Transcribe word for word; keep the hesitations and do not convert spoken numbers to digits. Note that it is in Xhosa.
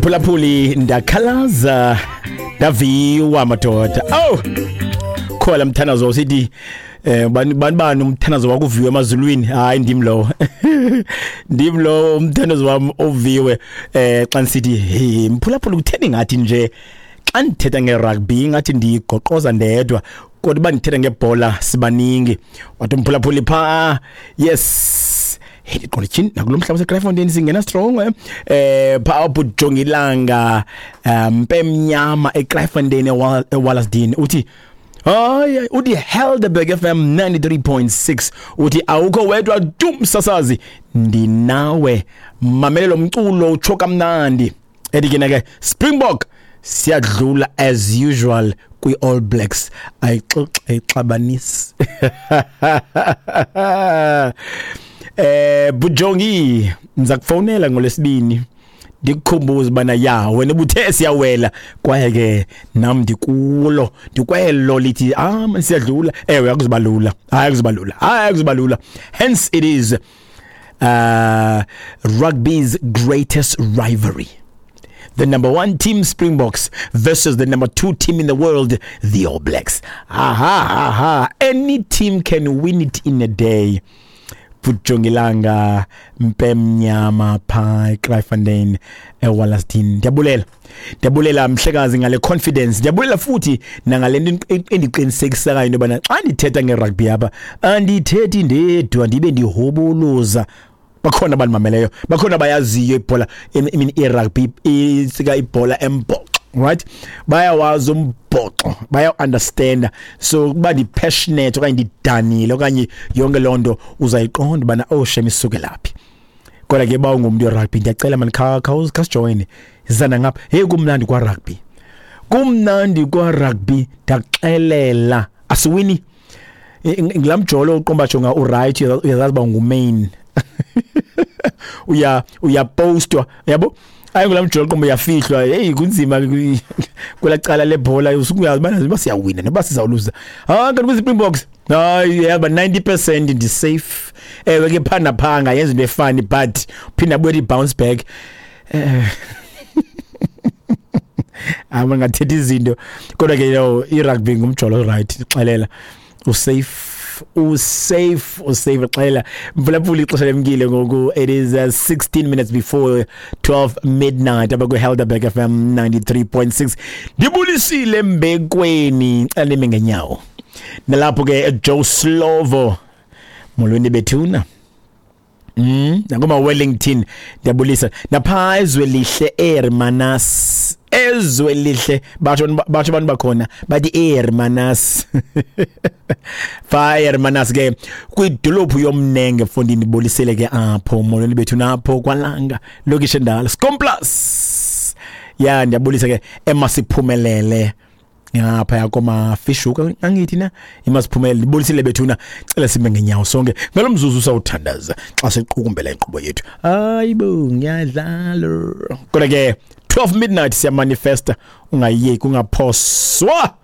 Mphulaphuli, ndakhalaza ndaviwa madoda. Oh, khola mthandazo usithi eh bani bani bani umthandazo wakuviwe emazulwini. Hayi, ndim lo, ndim lo umthandazo wami oviwe. eh xa nisithi, "Hey mphulaphuli, kutheni ngathi nje xa ndithetha ngerugby ngathi ndiyigoqoza ndedwa, kodwa uba ndithetha ngebhola sibaningi?" Wathi umphulaphuli pha, yes, hey, ndiqonda tyhini, nakulo mhlaba waseKraaifontein singena strong. eh eh pha uJongilanga Mpemnyama eKraaifontein, eWallasdean, uthi hayi, uthi Helderberg F M ninety-three point six, uthi awukho wedwa tu msasazi, ndinawe, mamele lo mculo utsho kamnandi. Ethi ke ke Springbok siyadlula as usual kwi All Blacks, ayixoxe ayixabanisi. eh Bujongi, ndiza kufonela ngolesibini ndikukhumbuze bana ya wena ubuthe siyawela, kwaye ke nam ndikulo, ndikwelo lithi ah man, siyadlula. Ewe, akuzibalula, hayi, akuzibalula, hayi, akuzibalula. Hence it is uh rugby's greatest rivalry, the number one team Springboks versus the number two team in the world, the All Blacks. Aha, aha, any team can win it in a day. Bujongilanga Mpemnyama pha eKraaifontein, eWallasdean, ndiyabulela, ndiyabulela mhlekazi ngale confidence, ndiyabulela futhi nangale nto endiqinisekisayo into yobana xa ndithetha ngerugby apha andithethi ndedwa, ndibe ndihoboloza, bakhona abandimameleyo, bakhona abayaziyo ibhola, I mean irugby, isika ibhola embhoxo, right? Bayawazi umbhoxo, baya-understanda. So kuba ndi-passionate okanye ndidanile okanye yonke loo nto, uzayiqonda ubana oh shem, isuke laphi. Kodwa ke ba ungumntu werugby, ndiyacela mani, khasijoyine, zana ngapha. Hey, kumnandi kwarugby, kumnandi kwarugby, ndakuxelela. Asiwini ngilaa mjolo uqomba, jonga, uright, uyazazi uba ngumain, uya uyapostwa, yabo, ayingulaa mjolo qomba uyafihlwa. Hey, kunzima kwelaa cala lebhola, usuke uyazi ubana uba siyawina noba sizawuluza. Ah, kanti kwiZispringboks, hayi, yaba ninety percent ndi-safe. Ewe ke, phaa naphaa angayenza into efani, but phinda abuye i-bounce back. eh Ama ngathetha izinto, kodwa ke yo, i-rugby ngumjolo, right? Xelela, usafe, usafe, usafe, xelela mphulaphula. Ixesha lemkile ngoku, it is uh, sixteen minutes before twelve midnight apha kwi-Helderberg F M ninety-three point six. Ndibulisile mbekweni, cela nime ngenyawo nalapho ke. Joe Slovo, molweni bethuna. Mm, nakuma Wellington ndiyabulisa, napha ezwe lihle eHermanus, ezwe lihle, batsho batsho abantu bakhona bathi eHermanus, fa eHermanus ke kwidolophu yomnenge mfondini, ndibulisele ke apho. Molweni bethu napho kwalanga lokishi endala Scomplus ya, ndiyabulisa ke emasiphumelele ngapha yakoma Fishuka, angithi na imasiphumelele. Ndibulisile bethuna, cela sime ngenyawo sonke ngalo mzuzu sawuthandaza xa siqukumbela inkqubo yethu. Hayibo, ngiyadlala, kodwa ke twelve midnight siyamanifesta, ungayeki, ungaphoswa.